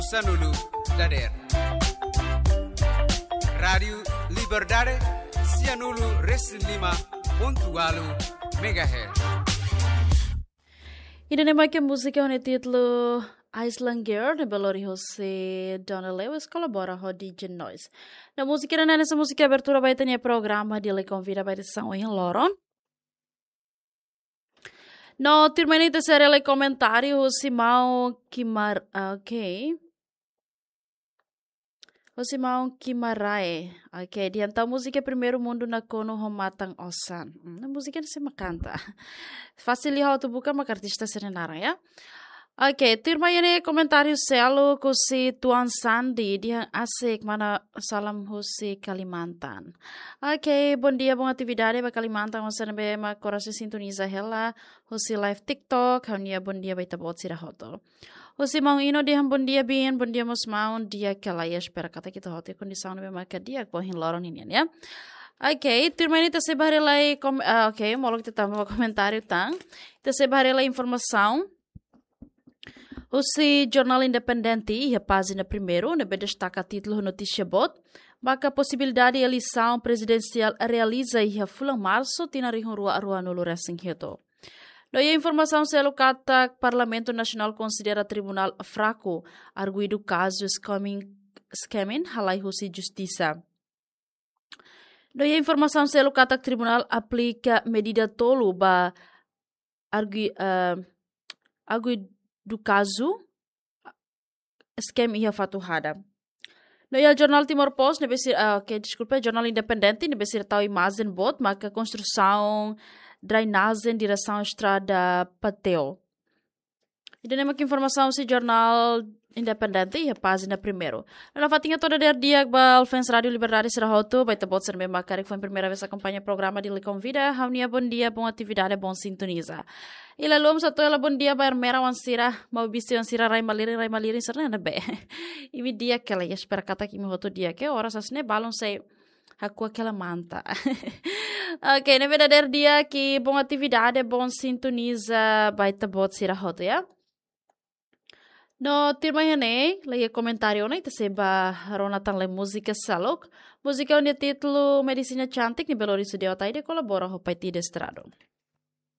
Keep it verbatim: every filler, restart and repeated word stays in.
Sanulu dader. Rádiu Liberdade, sianulu resin lima pontu ualu megahertz. Ida-ne'e mak múzika ho nia títulu Island Girl, ne'ebé lori hosi Donna Lewis, kolabora ho D J Noise. No múzika ida-ne'e hanesan múzika abertura ba ita-nia programa Di'ak Konvida ba edisaun ohin loron. No tuirmai ne'e ita sei haree lai komentáriu husi maun Kimar, ah, ok. Husi maun Kimarae. Ok, dehan entaun múzika Primeiro Mundo nakonu ho matan osan. Hmm, múzika ne'e sei mak kanta. Fasil liu ha'u atu buka mak artista sira-nia naran, ya. Ok, tuirmai ne'e komentáriu seluk husi Tuan Sandi, dehan asik, mana salam husi Kalimantan. Ok, bondia, bon atividade ba Kalimantan, hanesan ne'ebé mak oras ne'e sintoniza hela husi live TikTok, ha'u-nia bondia ba ita-boot sira hotu. Husi maun Ino dehan bondia, biin, bondia mós maun, di'ak ka lae, espera katak ita hotu iha kondisaun ne'ebé maka di'ak ba ohin loron ninian, ya. Ok, tuirmai ne'e ita sei bá haree lai kom-, ah, ok, molok ita tama ba komentáriu tan. Ita sei bá haree lai informasaun husi Jornál Independente iha pájina primeiru, ne'ebé destaka títulu ho notísia boot, maka posibilidade eleisaun prezidensiál realiza iha fulan Marsu, tinan rihun rua ruanulu resin hitu. No iha informasaun seluk katak Parlamentu Nasionál konsidera tribunál fraku, arguidu kazu scamming, scamming halai husi justisa. No iha informasaun seluk katak tribunál aplika medida tolu ba argu-, eh, arguidu kazu scam iha Fatuhada. No iha Jornál Timor Post, ne'ebé sira, ah, ok, deskulpa, Jornál Independente, ne'ebé sira tau imajen boot, maka konstrusaun drenajen diresaun estrada Pateo. Ida-ne'e mak informasaun husi Jornál Independente iha pájina primeiru. No nafatin hato'o dadeer di'ak ba fans Rádiu Liberdade sira hotu, ba ita-boot sira ne'ebé mak karik foin primeira vez akompaña programa Di'ak Konvida, ha'u-nia bondia, bon atividade, bon sintoniza. I la lupa atu hato'o hela bondia ba Ermera oan sira, Maubisse oan sira, rai malirin, rai malirin sira ne'ebé. Imi di'ak ka lae, espera katak imi hotu di'ak, ke oras hanesan ne'e balun sei hakuak hela manta. Ok, ne'ebé dadeer di'ak, bon atividade, bon sintoniza ba ita-boot sira hotu, ya. No tuirmai ne'e, lagi komentáriu ne'e, ita sei bá rona tan lai múzika seluk. Múzika ho nia títulu Medicina Cantik, ne'ebé lori husi Deo Ataide, kolabora ho Paitide Estrada.